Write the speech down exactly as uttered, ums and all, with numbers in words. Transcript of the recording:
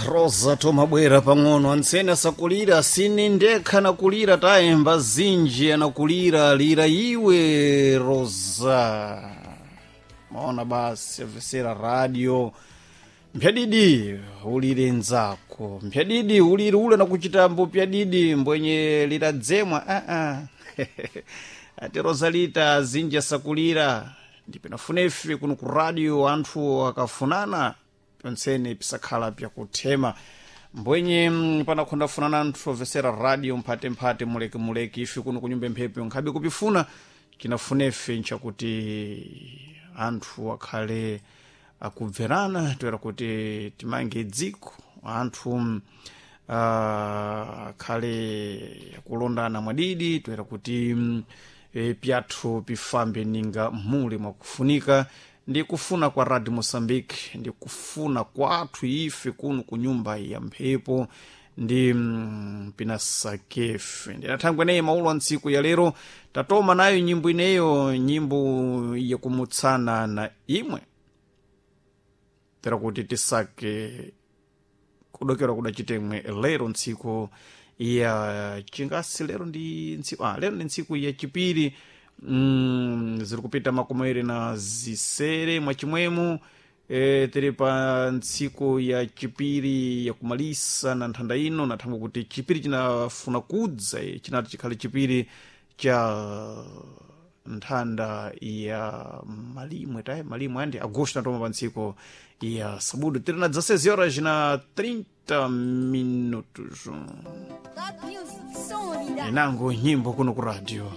Rosa tomabwera pang'ono antsene asakulira sini ndekha anakulira tayemba zinji anakulira lira iwe Rosa. Maona basi amvesera radio mpyadidi ulire nzako, mpyadidi ulire ule nakuchitambo pyadidi mbwenye liradzemwa aa ati Rosalita zinji asakulira ndipinafunefe kuno ku radio anthu akafunana pyontsene pisakhala pyakuthema mbwenye mm, panakhondafunana anthu omvesera radio mphatemphate mulekemuleke ife kuno kunyumba mphepo nkhabe kupifuna chinafunefe nchakuti anthu akhale akubverana toera kuti timange dziko anthu mm, ah, akhale akulondana mwadidi toera kuti mm, e, pyathu pifambe ninga mule mwakufunika ndi kufuna kwa Radio Mozambique ndi kufuna kwathu ife kuno ku nyumba ya mphepo ndi mm, pinasakefe ndinathangwe naye maulo a ntsiku ya lero tatoma nayo nyimbo ineyo nyimbo yakumutsana na imwe tera kuti tisake kudokera kudachitemwe lero ntsiku ya chingasi lero ndi ntsiku ah, lero ndi ntsiku ya chipiri mm, ziri kupita makumi awiri na zisere mwachimwemu e, tiri pa ntsiku ya chipiri yakumalisa na nthanda ino nathangwe kuti chipiri chinafuna kudza eh, chinati chikhale chipiri cha nthanda ya malimwe taye malimwe andi agosto natoma pa ntsiku ya sabudu tiri na dezesseis horas na trinta minutos Top Music, som vida. inango nyimbo kuno ku radio.